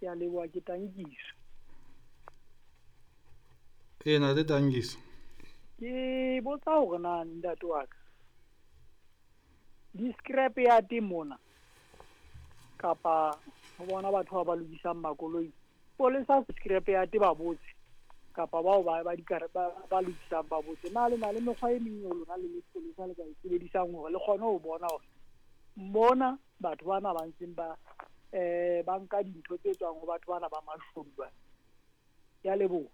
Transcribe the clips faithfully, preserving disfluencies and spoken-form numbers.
Ke a leboha, ke Tankiso. Ee, ntate Tankiso. Ke botsa hore na ntate wa ka di-scrap yard mona kapa ho bona batho ba ba lokisang makoloi, polesa scrap yard ba botse kapa bao ba ba dikare ba ba lokisang ba botse, na le na le mekgwa e meng eo lona le le sepolesa le ka e sebedisang hore le kgone ho bona hore mona batho bana ba ntseng ba eh ba nka dintho tse tswang ho batho bana ba mashodu bana. Ke a leboha.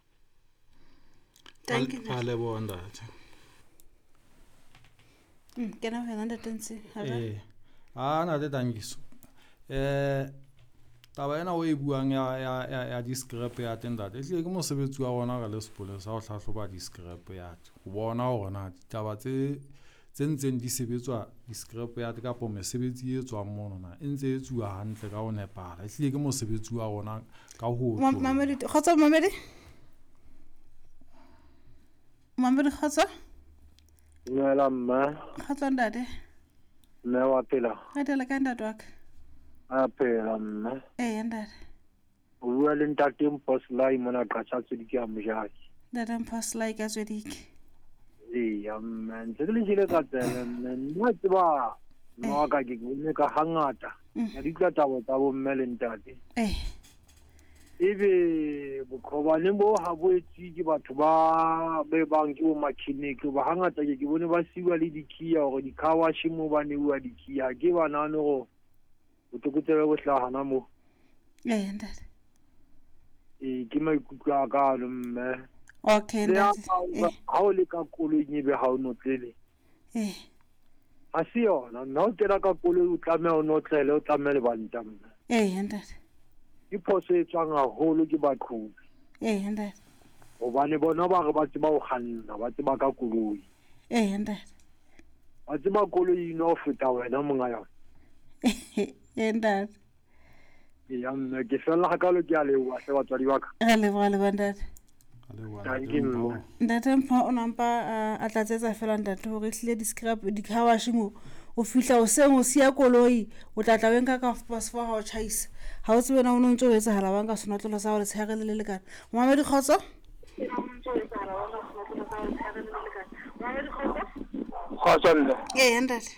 Thank you. Ra leboha ntate. Mm, kena ho yena ntate Ntsi. Ha jwale? Ee. A ntate Tankiso. Eh taba ena o e buang ya ya ya, ya di-scrap yard ntate, ehlile ke mosebetsi wa rona re le sepolesa ho hlahloba di-scrap yard, ho bona hore na ditaba tse tse ntseng di sebetswa di-scrap yard kapa mesebetsi e tswang mono na e ntse e etsuwa hantle ka ho nepahala. Ehlile ke mosebetsi wa rona ka ho Ma- otloloha. Mamedi, kgotso Mamedi. Mamedi kgotso. Dumela mme. Kgotso ntate. Mme wa phela? Re tele kae ntate wa ka? A phela mme. Ee ntate. O bua le ntate Mposlai mona Qacha Tswedike ya Mojaki. Ntate Mposlai ka Tswedike. Eya mme, ntse ke le jele ka tsebe mme. Nna tseba mme wa ka ke bone ka hangata. Mm. Ka di utlwa taba tsa bo mme le ntate. Eh. Ebe boqhobane bo ha bo etswe ke batho ba be bang ke bo mechanic, ba hangata ke ke bone ba siwa le di-key hore di-car wash mo ba neuwa di-key. Ha ke ba nahane hore botlokotsebe bo hlaha hana moo. Ee ntate. Ee, ke maikutlo a ka ano mme. Okay Le ha ntate. ha o Eh. ha o le ka koloing ebe ha o notlele. Eh. Ha se yona mme, ha o kena ka koloi o tlameha o notlele, o tlameha lebanta mme. Ee ntate. Ke phoso e tswang haholo ke baqhobi. Ee ntate. Hobane bona ba re ba tseba ho kganna, ba tseba ka koloi. Ee ntate. Ba tseba koloi eno ho feta wena monga yona. Ee ntate. Eya mme, ke fella hakalo, ke a leboha hle batswadi ba ka. Re leboha le bo ntate. Ra leboha Thank ntate you, Mpho. mme. Ntate Mpho o nampa a, a tlatsetsa fela ntate hore ehlile di-scrap di-car wash mo o fihla hoseng o siya koloi, o tla tla o e nka ka half past four ha o tjhaisa. Ha o tsebe na o no ntso o etsahala wa nka senotlolo sa hao letshehare le le lekana. Mamedi kgotso? Kgotso mme. Ee ntate.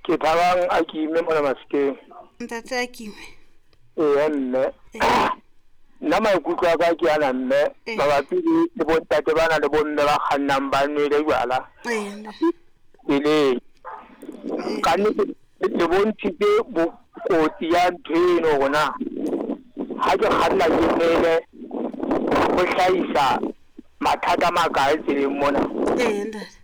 Ke Thabang a Kime mona Mafikeng. Ntate a Kime. Ee mme. Ee. Nna maikutlo a ka ke ana mme, Ee. mabapi le le bontate bana le bomme ba kgannang ba nwele jwala Ee ntate. tseleng. Ka nnete le bontshitse bokotsi ya ntho eno hore na ha ke kganna ke nwele ho hlahisa mathata a makae tseleng mona. Ee ntate.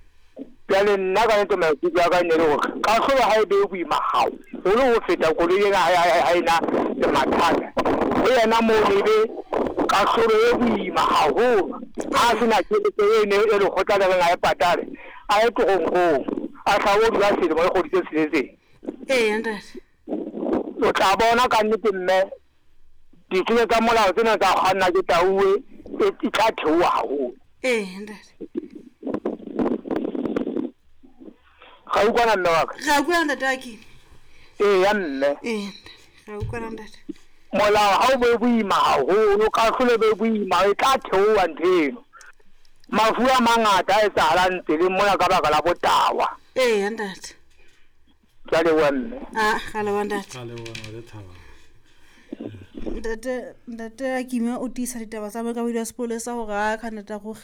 Jwale nna ka nnete maikutlo a ka ne le hore kahlolo ha e be boima haholo ho feta koloi ena ha ha ena le mathata. Ho yena moo e be kahlolo e boima haholo. Ha sena tjhelete eno e lekgotla le reng a e patale, a ye toronkong, a tla o dula selemo le kgwedi tse tsheletseng. Ee ntate. O tla bona ka nnete mme dithunya tsa molao tsena tsa kganna ke tauwe e tla theoha haholo. Ee ntate. Ga utlwana mme wa ka? Re a utlwana ntate wa Kime. Eya mme. Ee ntate. Re a utlwana ntate. Molao ha o be boima haholo, kahlolo e be boima, e tla theoha ntho eno. Mafu a mangata a etsahalang tseleng mona ka baka la botawa. Ee ntate. Ke a leboha mme. Ah, ra leboha ntate. Ra leboha ntate Thabang. Ntate ntate a Kime o tiisa ditaba tsa mookamedi wa sepolesa hore a ka nnete ruri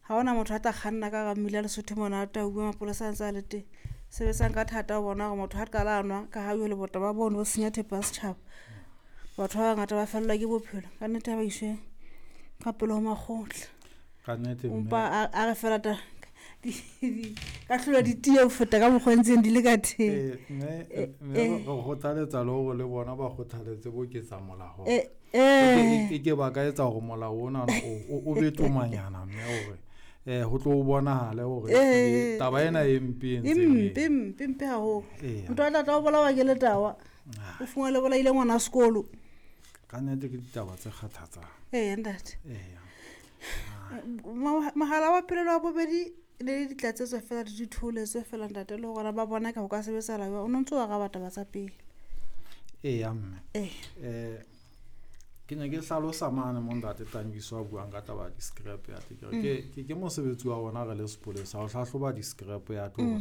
ha hona motho a tla kganna ka hara mmila Lesotho mona a tauwe mapolesa a ntse a le teng. Sebetsang ka thata ho bona hore motho ha qala a nwa ka ha jwale botaba bono bo senya thepa ya setjhaba. Batho ba bangata ba fellwa ke bophelo. Ka nnete ha ba iswe ka pele ho makgotla. Ka nnete mme. Empa a a re fela ta kahlolo di tiye ho feta ka mokgwa o ntseng di le ka teng. Ee, mme mme Eh. re kgothaletsa le hore le bona ba kgothaletse bo ketsa molao. Eh, E eh. ke ke ba ka etsa hore molao ona o o be tomanyana mme hore eh ho tlo bonahale hore Eh. taba ena e mpe e E ntseng e- mpe mpe mpe haholo. Eya. Motho a tla tla o bolawa ke letawa. O fumane le bolaile ngwana sekolo. Ka nnete ke ditaba tse kgathatsang. Ee ntate. Eya. Ma- Mohala wa pele le wa bobedi le ditlatsetso fela le ditholetso fela ntate le hore ba bona ka ho ka sebetsahala jwang. O no ntso o araba taba tsa pele. Eya mme. Eh. Eh Ke ne ke hlalosa mane mo ntate Tankiso a buang ka taba ya di-scrap yard. Ke re ke ke ke mosebetsi wa rona re le sepolesa ho hlahloba di-scrap yard hore